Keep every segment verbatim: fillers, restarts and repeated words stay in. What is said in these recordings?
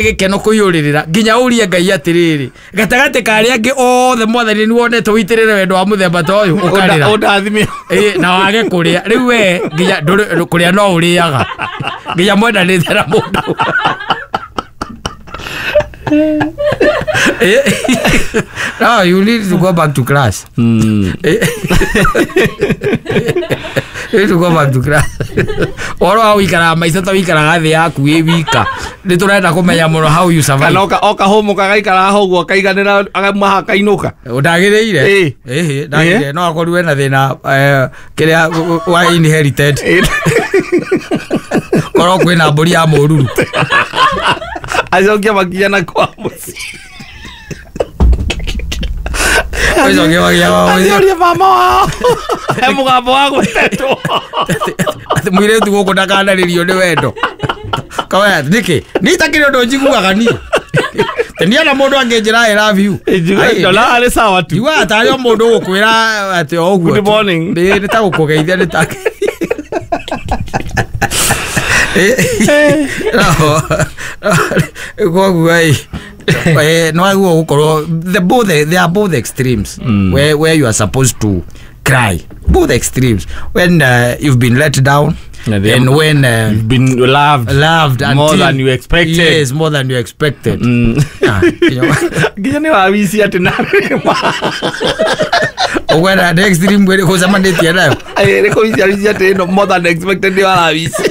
Gĩkeno kũiyũrĩrĩra nginya ũrie Ngai atĩrĩrĩ, gatagatĩ ka arĩa angĩ othe Mwathani nĩ wonete ũitĩrĩre wendo wa mũthemba ta ũyũ, ũkarĩra. Ũndathime. Ĩ, na wage kũrĩa rĩu we nginya ndũrĩ- kũrĩa no ũrĩaga nginya mwendanĩte na mũndũ. Eh, no, you need to go back to class. Eh, you need to go back to class. Ũhoro wa ũikaraga maica ta ũikaraga thĩ yaku wĩ wika, nĩ tũrenda kũmenya mũno how you survive. Kana oka oka hũmũka agaikara ho ũguo akaiganĩra akauma akainũka. Ndagĩrĩire. Ĩ. Ĩhĩ, ndagĩrĩire no akorwo wena thĩna, eh, kĩrĩa wa inherited, korwo kwĩna mbũri ya mũruru. Acokia makinya na kwa mũciĩ. Ũcokie makinya kwa mũciĩ. Aciorie mama wao he mũgambo wa gwĩtetwo. Atĩ mũirĩtu gũkũ ndakanarĩrio nĩ wendo. Kawaya nĩkĩ niĩ itakĩrĩ ũndũ njiguaga niĩ teniona mũndũ angĩnjĩra "I love you". Ai, Ndonaga arĩ sawa tu. Njiguaga tarĩ o mũndũ ũgũkwĩra atĩ o ũguo Good tu. morning. Nĩ nĩ ta gũkũgeithia nĩ ta. No, koguo ĩ, eh, no agwo gũkorwo the both they are both extremes where where you are supposed to cry, both extremes, when uh, you've been let down Yeah, they and are- when uh, You've been loved loved more until- than you expected. Yes, more than you expected. Mm. Ah, you know, Nginya nĩ wawici atĩ na ũkwenda the extreme kwĩ gũcemanĩtie nayo. Nĩ kũwici awici atĩ ĩno more than expected nĩ warawici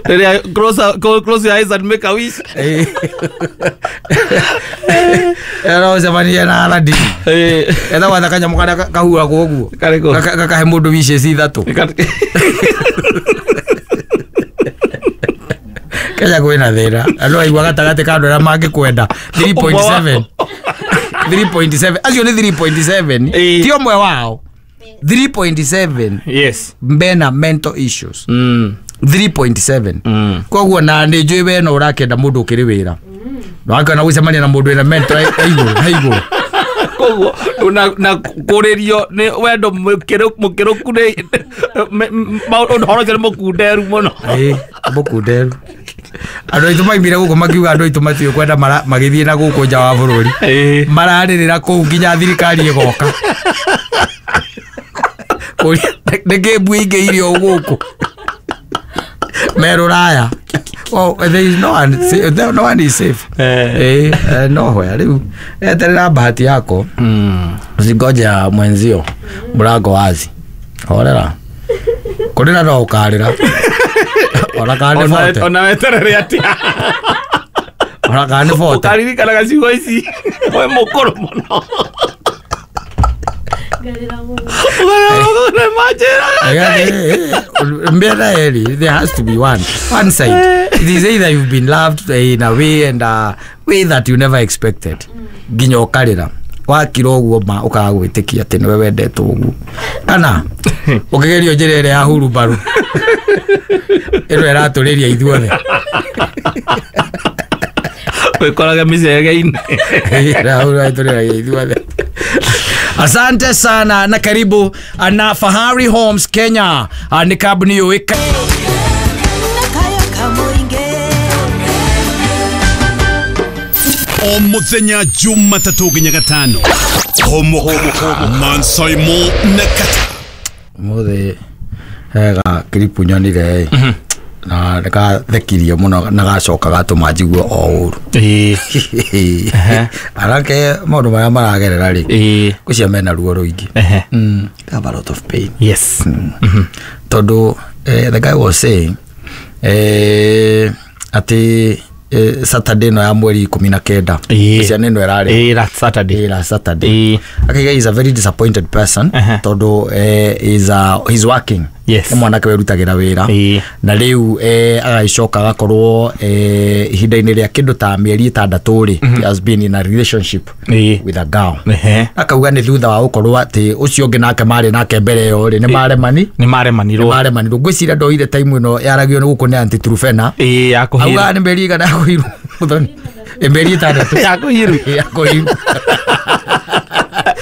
rĩrĩa close close your eyes and make a wish. Eh. Ĩno ũcemanie na Aladdin. Eh, etha gwatha kanyamũ karĩa ka- kahuragwo ũguo. Karĩkũ? Gaka- gakahe mũndũ wishes ithatũ. Kenya kwĩna thĩna andũ aigua gatagatĩ ka andũ arĩa mangĩkwenda three point seven, three point seven acio nĩ three point seven. Ĩĩ. Ti ũmwe wao, three point seven Yes. mena mental issues. Mm. three point seven. Mm. Koguo na nĩ njũĩ we no ũrakĩenda mũndũ ũkĩrĩ wĩra wakĩona gũcemania na mũndũ wĩna mental he igũrũ, he igũrũ. Koguo na na kũrĩrio nĩ wendo mũkĩrũ- mũkĩrũku nĩ ũhoro ũcio nĩ mũkunderu mũno. Ĩĩ, mũkunderu. Andũ aitũ maimire gũkũ makiuga andũ aitũ matiũĩ kwenda mara- magĩthiĩ na gũkũ nja wa bũrũri. Ĩĩ. Mararĩrĩra kũu nginya thirikari ĩgoka kũria nĩkĩ mbui ingĩ irio gũkũ me rũraya. Oh, there is no one, sa- no one is safe. Eh. Eh, eh, nowhere. Rĩu eterera bahati yako. Mm. Usingoje mwenzio, mlango wazi, horera kũrĩra no ũkarĩra ona kana nĩ Ona- bote. Ona weterere atĩa? Ona kana nĩ bote. Ũkaririkanaga ciugo ici we mũkũrũ mũno. Ngarĩra mũno. Manjĩraga. Mbera eri there has to be one one side. It is either you've been loved in a way and a way that you never expected nginya ũkarĩra wakira ũguo ma ũkaga gwĩtĩkia atĩ nĩwe wendetwo ũguo, kana ũkĩgerio njĩra ĩrĩa ya hurumbaru ĩno ĩratũrĩria ithuothe. Wĩkoraga mĩcege-inĩ. Ĩratũrĩria ithuothe. Asante sana na karibu na Fahari Homes Kenya. Ah, nĩ kambuni yũĩka Nakayo kamũingĩ. O muthenya Jumatatũ nginya Gatano, Homoka Mansaimo na Kata. Mũthĩ hega kiripu nyonire ĩ na nĩkathekirie mũno na gacoka gatũma njigue o ũru. Ĩĩ. Anake maũndũ marĩa maragerera rĩ, Ĩĩ. ngwĩciria mena ruo rũingĩ. Ehe. Mm, they have a lot of pain. Yes. Tondũ eh, the guy was saying eh, atĩ eh, Saturday ĩno ya mweri ikũmi na kenda. Ĩĩ. Ciana ĩno ĩrarĩ Ĩĩ, last Saturday. Ĩĩ, last Saturday. Ĩĩ. Akaiga is a very disappointed person Aha. tondũ eh, is a, he's working. Yes. Nĩ mwanake wĩrutagĩra wĩra. Ĩĩ. Na rĩu eh, agagĩcoka agakorwo eh, ihinda-inĩ rĩa kĩndũ ta mĩeri ĩtandatũ rĩ, he has been in a relationship Ĩĩ. with a girl. Ehe. Akauga nĩ thutha wa gũkorwo atĩ ũcio ũngĩ nake marĩ nake mbere ĩyo rĩ, nĩ maremani Nĩ maremanirwo. Maremanirwo. Ngwĩciria ndoire time ĩno yaragio nĩ gũkũ nĩ anti Trufena. Ĩĩ, ya kũhirwo. Augaga nĩ mĩeri igana ya kũhirwo mũthoni, ĩ mĩeri ĩtandatũ Ya kũhirwo. Ya kũhirwo.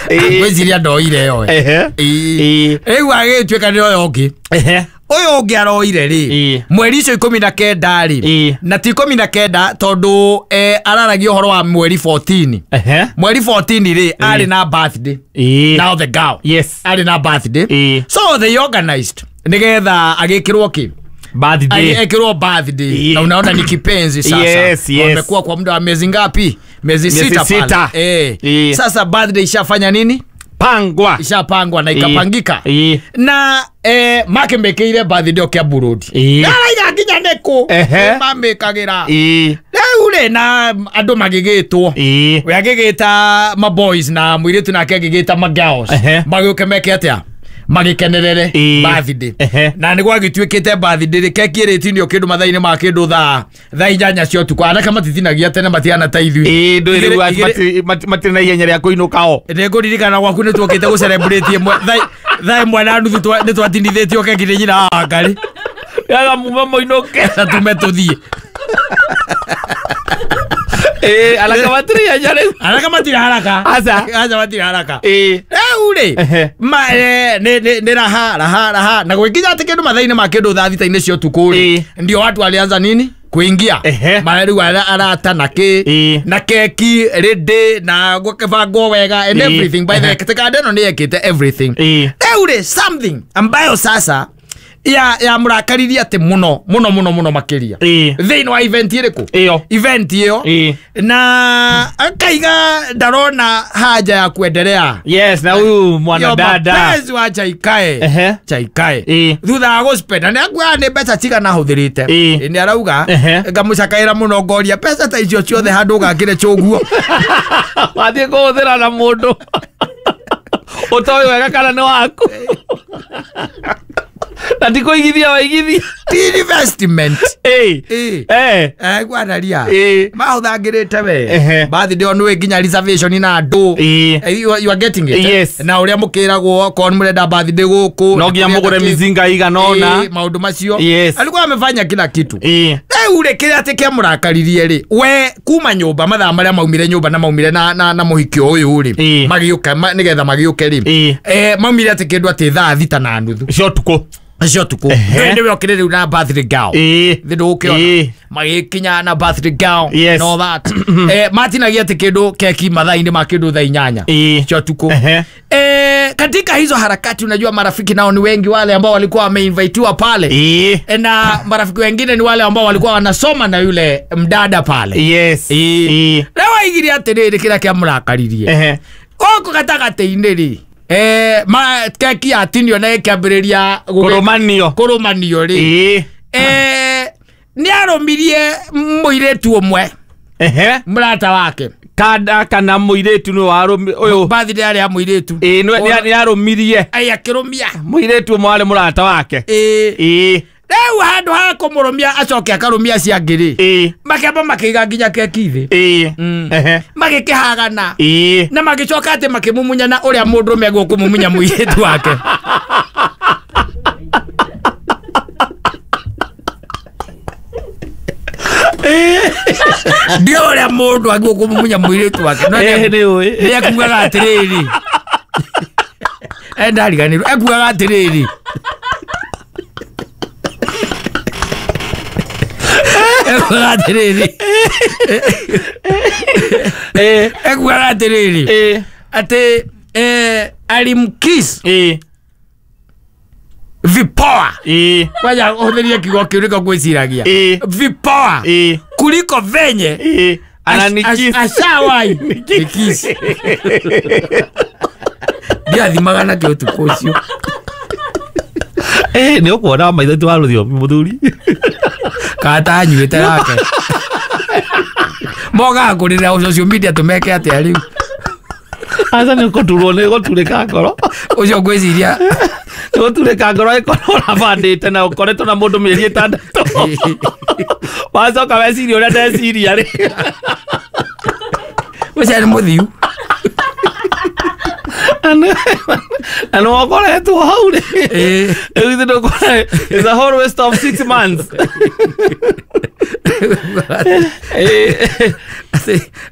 Ĩĩ. Ngwĩciria ndoire ĩyo. Ehe. Ĩĩ. Ĩĩ. Rĩu agĩtuĩka nĩ oyo ũngĩ. Ehe. Ũyũ ũngĩ aroire rĩ Ĩĩ. mweri icio ikũmi na kenda rĩ Ĩĩ. na ti ikũmi na kenda tondũ eh, araragia ũhoro wa mweri fourteen. Ehe. Mweri fourteen rĩ arĩ na birthday. Ĩĩ. Now the girl Yes. arĩ na birthday. Ĩĩ. So they organized nigetha agĩkĩrwo kĩ Birthday. ekirwo birthday. Ĩĩ. Na unaona ni kipenzi sasa. Yes, yes. Wamekuwa kwa muda wa miezi ngapi? Miezi Miezi sita pale. sita. Eh. Ĩĩ. Sasa birthday ishafanya nini? Pangwa. Ishapangwa na ikapangika. Ĩĩ. Na eh, makĩmĩkĩire birthday o Kiambu Road. Ĩĩ. Araiga nginya nĩkũ Ehe. mamĩkagĩra Ĩĩ. rĩu rĩ na andũ magĩgĩtwo Ĩĩ. we agĩgĩta maboys na mũirĩtu nake agĩgĩta magirls Ehe. magĩũke meke atĩa magĩkenerere Ĩĩ. birthday Ehe. na nĩ gwagĩtuĩkĩte birthday rĩ keki ĩrĩtinio kĩndũ mathaa-inĩ ma kĩndũ thaa thaa inyanya cia ũtukũ anake matitinagia tene matihana ta ithuĩ Ĩĩ, ndũĩ rĩu Igĩrĩ- ati igĩrĩ- mati- mati- matirĩ na ihenya rĩa kũinũka o. Nĩngũririkana gwaku nĩ tuokĩte gũcelebrate ĩmwe thaa thaa ĩmwe na nuthu twa- nĩ twatinithĩtio keki nĩ nyina wa Ngarĩ Yaga mume mũinũke. na tume tũthiĩ. Ĩĩ, anake matirĩ ihenya rĩu. Anake matirĩ haraka. Aca. Aca matirĩ haraka. Ĩĩ. Rĩu rĩ Ehe. ma eh, nĩ nĩ- nĩ raha raha raha na gwĩkinya atĩ kĩndũ mathaa-inĩ ma kĩndũ thaa thita-inĩ cia ũtukũ rĩ Ĩĩ. ndio watu walianza nini kuingia Ehe. mara rĩu ara- arata na kĩ Ĩĩ. na keki rĩndĩ na gũkĩbangwo wega and Ĩĩ. everything by the way Ehe. tekanda ĩno nĩ yekĩte everything. Ĩĩ. Rĩu rĩ something ambayo sasa ya ya mũrakaririe atĩ mũno mũno mũno mũno makĩria Ĩĩ. thĩinĩ wa event ĩrĩkũ Ĩyo. event ĩyo Ĩĩ. na akaiga ndarona haja ya kuendelea Yes, na huyu mwanadada. mapenzi wa chaikae Ehe. chaikae Ĩĩ. thutha wa gũspenda nĩ akuaga nĩ mbeca cigana ahũthĩrĩte Ĩĩ. nĩ arauga Ehe. ngamũcakaĩra mũno ngoria mbeca ta icio ciothe handũ ũgakĩre chũguo Wathiĩ kũhũthĩra na mũndũ ũtoĩ wega kana nĩ waku na ti kũigithia waigithia. Ti investment. Ĩĩ. Ĩĩ. Eh. Gwanaria Ĩĩ. mahũthangĩrĩte we Ehe. birthday o nĩwe nginya reservation na andũ. Ĩĩ. Eh, you are- you are getting it eh? Yes. Na ũrĩa mũkĩragwo okorwo nĩ mũrenda birthday gũkũ No nginya mũgũre mizinga igana ũna. Ĩĩ, maũndũ macio Yes. alikuwa amefanya kila kitu. Ĩĩ. Rĩu rĩ kĩrĩa atĩ kĩamũrakaririe rĩ we kuma nyũmba mathaa marĩa maumire nyũmba na maumire na, na, na mũhiki ũyũ rĩ Ĩĩ. magĩũka ma, nĩgetha magĩũke rĩ Ĩĩ. eh, maumire atĩ kĩndũ atĩ thaa thita na nuthu Cia ũtukũ. cia ũtukũ Ehe. nĩwe okĩrĩ rĩu na birthday girl Ĩĩ. thĩ ndũgũkĩona Ĩĩ. magĩkinya na birthday girl Yes. and all that eh, matinagia atĩ kĩndũ keki mathaa-inĩ ma kĩndũ thaa inyanya Ĩĩ. cia ũtukũ Ehe. eh, katika hizo harakati unajua marafiki nao ni wengi wale ambao walikuwa wameinvitiwa pale Ĩĩ. na marafiki wengine ni wale ambao walikuwa wanasoma na yule mdada pale. Yes. Ĩĩ. Ĩĩ. Rĩu aigire atĩrĩrĩ kĩrĩa kĩamũrakaririe Ehe. gũkũ gatagatĩ-inĩ rĩ eh, ma keki yatinio na ĩkĩambĩrĩria gũgĩ- Kũrũmanio. kũrũmanio rĩ Ĩĩ. eh, nĩ arũmirie mũirĩtu ũmwe Ehe. mũrata wake Kada kana mũirĩtu nĩ warũmi ũyũ. birthday yarĩ ya mũirĩtu Ĩĩ, nĩ nĩ- nĩ arũmirie Ai, akĩrũmia mũirĩtu ũmwe warĩ mũrata wake. Ĩĩ. Ĩĩ. Rĩu handũ ha kũmũrũmia acoke akarũmia acio angĩ rĩ Ĩĩ. makĩamba makĩiga nginya keki thĩ Ĩĩ. Mm. Ehe. magĩkĩhagana Ĩĩ. na magĩcoka atĩ makĩmumunyana ũrĩa mũndũrũme agũkũmumunya mũirĩtu wake. Ndio ũrĩa mũndũ agũkũmumunya mũirĩtu wake No Ĩĩ, nĩ ũĩ. nĩ ekugaga atĩrĩrĩ endariganĩrwo ekugaga atĩrĩrĩ ekugaga atĩrĩrĩ Ĩĩ. ekugaga atĩrĩrĩ Ĩĩ. atĩ eh, alimkiss Ĩĩ. vipoa Ĩĩ. kwanja hũthĩrie kiugo kĩu nĩko ngwĩciragia Ĩĩ. vipoa Ĩĩ. kuliko venye Ĩĩ. Ananikiss. ashawai nikis ndiathimaga nakĩo ũtukũ ũcio. Ĩĩ, nĩ ũkuona maitho ti wa rũthiomi mũthuri. Kata anyuĩte nake mokaga kũrĩra social media tũmeke atĩa rĩu Aca nĩ ũkũturwo nĩ gũturĩka ngoro. Ũcio ngwĩciria Nĩ gũturĩka ngoro ĩkorwo ũrabandĩte na ũkoretwo na mũndũ mĩeri ĩtandatũ. Wacoka weciria ũrĩa ndeciria rĩ. Ũcio nĩ mũthiu. Na nĩ wokoretwo hau rĩ. Ĩĩ. Rĩu ithe ndũkuona it's a whole waste of six months. Ĩĩ.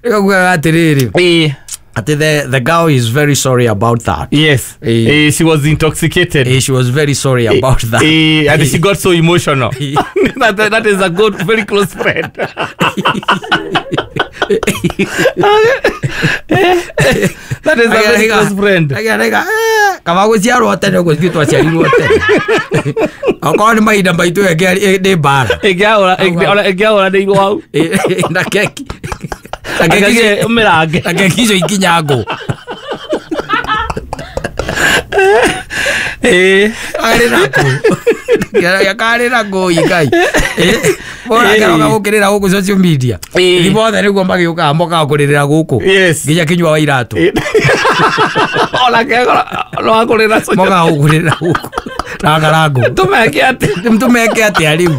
Nĩkaguaga atĩrĩrĩ Ĩĩ. Ati the the girl is very sorry about that. Yes. Eh. Eh, she was intoxicated. Eh, she was very sorry about that. Eh, and she got so emotional. that, that is a good, very close friend. That is a very close friend. Agarega kaba guciarwo tene uguo ithuĩ twaciarirwo tene. Okorwo nĩ mahinda maitũ ĩngĩ nĩ mbara. Ĩngĩahũra ĩngĩahũra nĩ hau. Na keki. Na keki ũmĩrange. Na keki icio ikinya ngũ. Eh, arĩ na ngũ. Karĩ na ngũ ikai. Bora karoga gũkĩrĩra gũkũ social media. Ĩ Thĩ othe nĩguo magĩũkaga mokaga kũrĩrĩra gũkũ. Yes. Nginya kinyua wa iratũ. Ona kegora no akũrĩra social. Mokaga gũkũrĩrĩra gũkũ. Na karangũ. Tũmeke atĩa? Tũmeke atĩa rĩu?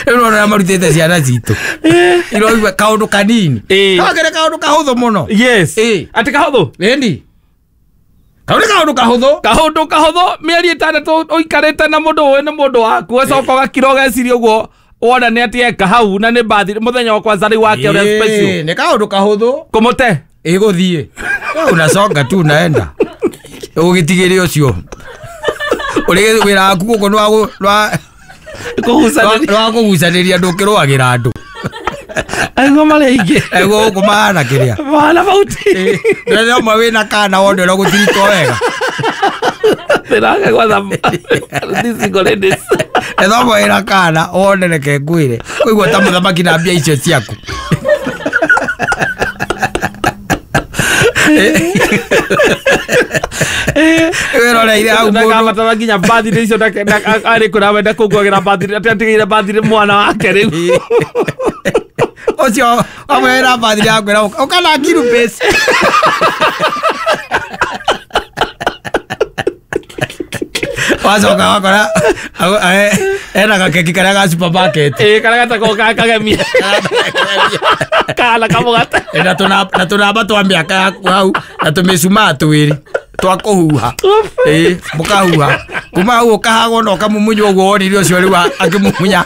Rĩu nĩwona marutĩte ciana citũ. Iroigua kaũndũ kanini. Kagere kaũndũ kahũthũ mũno. Yes. Atĩ kahũthũ? Ĩni. Kau nĩ kaũndũ kahũthũ. Kaũndũ kahũthũ mĩeri ĩtandatũ ũikarĩte na mũndũ ũĩ nĩ mũndũ waku ũgacoka ũgakira ũgeciria ũguo wona nĩ atĩ eka hau na nĩ bathi mũthenya wa kwanza rĩu wake ũrĩa special. Nĩ kaũndũ kahũthũ. Kũmũte. Ĩgũthiĩ. Unasonga tu unaenda. Ũgĩtigĩre ũcio. Ũrĩ wĩra waku gũkũ nĩ wa kũgucanĩria. Nĩ wa kũgucanĩria ndũkĩrũagĩra andũ. Aiguo marĩa aingĩ. Aiguo gũkũ mahana kĩrĩa. Mahana bauti. Rĩrĩa ũmwe wĩna kana wone ũrĩa gũtiritwo wega. Ndĩrage gwatha these single ladies. Etha ũmwe wĩna kana wone reke ngwĩre. Kũigua ta mũthamaki na mbia icio ciaku. Wĩroreire hau mũndũ. Ndakabatara nginya birthday icio arĩ kũrĩa wenda kũngũagĩra birthday atĩ atigĩire birthday mwana wake rĩu. Ũcio amwe wĩna birthday akwĩra ũka na ngiru base. Wacoka wakora ena gakeki karĩa ga supermarket. Ĩ karĩa gatagwo ga kagemia. Kana kamũgate. Na tũnamba twa mĩaka yaku hau na tũmĩcumaa twĩrĩ twa kũhuha. Ĩ mũkahuha. Kuma hau ũkahagwo na ũkamumunywo ũguo wonire ũcio rĩu akĩmumunya.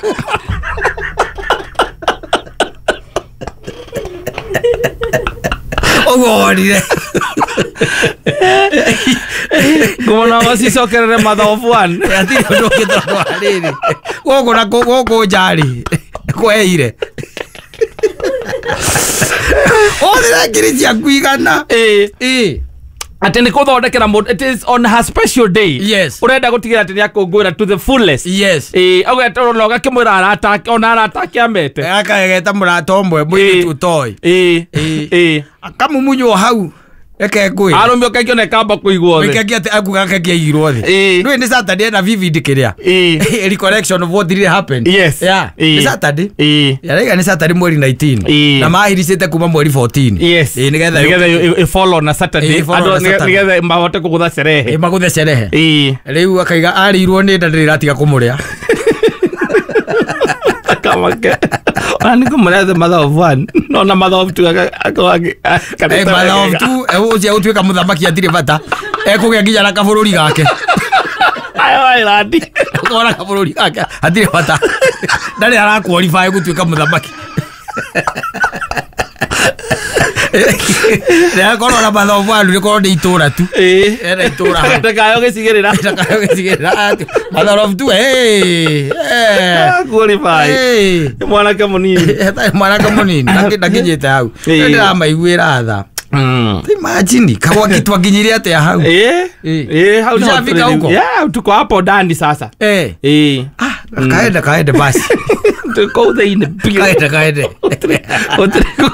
Ũguo wonire. Ngũmona macicokerere mother of one. Hatirĩ ũndũ ũngĩ tondũ wa rĩrĩ. Gũkũ na gũkũ nja rĩ kweire. Ũthire ngiri ciaku igana. Ĩ. Ĩ. Atĩ nĩ kũthondekera mũndũ it is on her special day. Yes. Ũrenda gũtigĩra atĩ nĩ akũngũĩra to the fullest. Yes. Ĩ ũgetwo na ũgakĩmwĩra arata ake ona arata ake amete. Akageta mũrata ũmwe mũirĩtu ũtoĩ. Ĩ. Ĩ. Akamumunywo hau. Reke ngwĩre. Arũme ũkaingĩ ona ĩkamba kũigwo thĩ. Ũkaingĩ atĩ akuga keki aigirwo thĩ. Ĩ. Ndũĩ nĩ Saturday ena vivid kĩrĩa. Ĩ. Recollection of what really happened. Yes. Yeah. Ĩ. Nĩ Saturday. Ĩ. Yaraiga nĩ Saturday mweri nineteen. Ĩ. Na mahiricĩte kuma mweri fourteen. Yes. Ĩ nĩgetha nĩgetha ĩ follow na Saturday. Ĩ, follow na Andũ Saturday. nĩgetha mahote kũgũtha cerehe. Ĩ magũthe cerehe. Ĩ. Rĩu akaiga arĩirwo nĩ nda ndĩrĩ ĩratiga kũmũrĩa. Kamake. Ona nĩ kũmũrĩa the mother of one. No na mother of two akorwo Eh, mother of two ũcio ũtuĩka mũthamaki atirĩ bata. Ekũgĩa nginya na kabũrũri gake. Ayo Island. Ũkona kabũrũri gake hatirĩ bata. Ndarĩ ara qualify gũtuĩka mũthamaki. Rĩakorwo na mother of one rĩkorwo nĩ itũra tu. Ĩ. Ena itũra hau. Ndakayo gĩcigĩrĩra. Ndakayo gĩcigĩrĩra. Mother of two, hey. Eh. Qualify. Hey. Nĩ mwanake mũnini. Ĩtarĩ mwanake mũnini ndakinyĩte hau. Ĩ. Ndĩramaiguĩra tha. Mm. Imagine kagwaki twakinyire atĩa hau. Ĩ. Ĩ. Ĩ hau nĩho Tushafika tũrĩ. huko? Yeah, tuko hapo ndani sasa. Eh. Ĩ. Ah, kaende kaende basi. Tuko thĩinĩ biũ. Kaende kaende. Gũtirĩ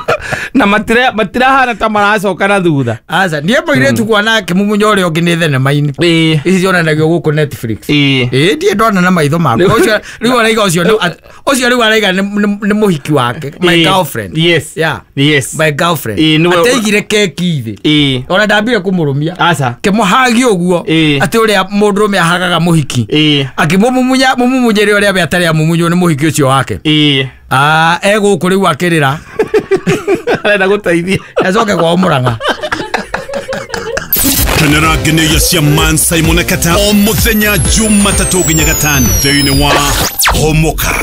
na matira matirahana ta maracoka na thutha. Aca niĩ mũirĩtu kuona akĩmumunya ũrĩa ũngĩ nĩ thenema-inĩ. Ĩ. Ici cionanagio gũkũ Netflix. Ĩ. Ĩ ndiĩ ndona na maitho makwa. Ũcio rĩu araiga ũcio nĩ ũcio rĩu araiga nĩ nĩ mũhiki wake. My Ĩ. girlfriend. Yes. Yeah. Yes. My girlfriend. Ĩ, nĩwe- Ateigire keki thĩ. Ĩ. Ona ndambire kũmũrũmia. Aca. Kĩmũhagia ũguo Ĩ. atĩ ũrĩa mũndũrũme ahagaga mũhiki. Ĩ. Akĩmũmumunya mũmumunyĩre ũrĩa we atarĩ amumunywo nĩ mũhiki ũcio wake. Ĩ. Ah, egũkũ rĩu akĩrĩra. Arenda gũteithia. Acoke kwao Mũrang'a. Kenera ngeneia cia Man Simon Kata o mũthenya Jumatatũ nginya gatano thĩinĩ wa Homoka.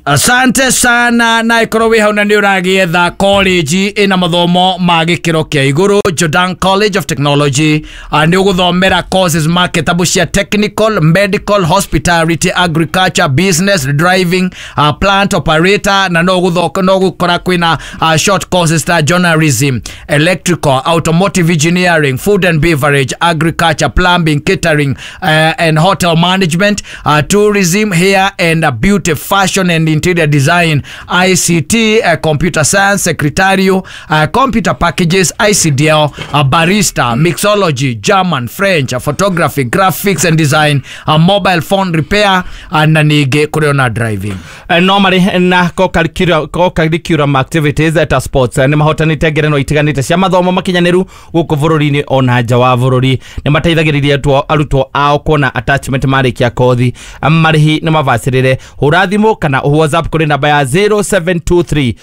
Asante sana. Na ikorwo wĩ hau na nĩ ũragĩetha college ĩna mathomo ma gĩkĩro kĩa igũrũ, Jordan College of Technology, uh, nĩ ũgũthomera courses marketable cia technical, medical, hospitality, agriculture, business, driving, uh, plant operator, na no gũthoka no gũkora kwĩna uh, short courses ta journalism, electrical, automotive engineering, food and beverage, agriculture, plumbing, catering uh, and hotel management, uh, tourism, hair and uh, beauty, fashion and interior design, I C T, uh, computer science, secretarial, uh, computer packages, I C D L, uh, barista, mixology, German, French, uh, photography, graphics and design, uh, mobile phone repair, uh, na ningĩ kũrĩ ona driving. No marĩ na co-curriculum co-curriculum activities ta sports. Nĩ mahotanĩte ngerenwa itiganĩte cia mathomo makinyanĩru gũkũ bũrũri-inĩ ona nja wa bũrũri. Nĩ mateithagĩrĩria arutwo- arutwo ao kuona attachment marĩkia kothi. Marĩhi nĩ mabacĩrĩre. Hũra thimũ kana WhatsApp kũrĩ namba ya zero seven two three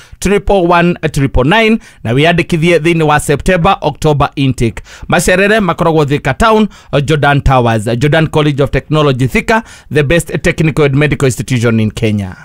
one one nine nine na wĩyandĩkithie thĩinĩ wa September October intake. Macerere makoragwo Thika Town, Jordan Towers. Jordan College of Technology Thika, the best technical and medical institution in Kenya.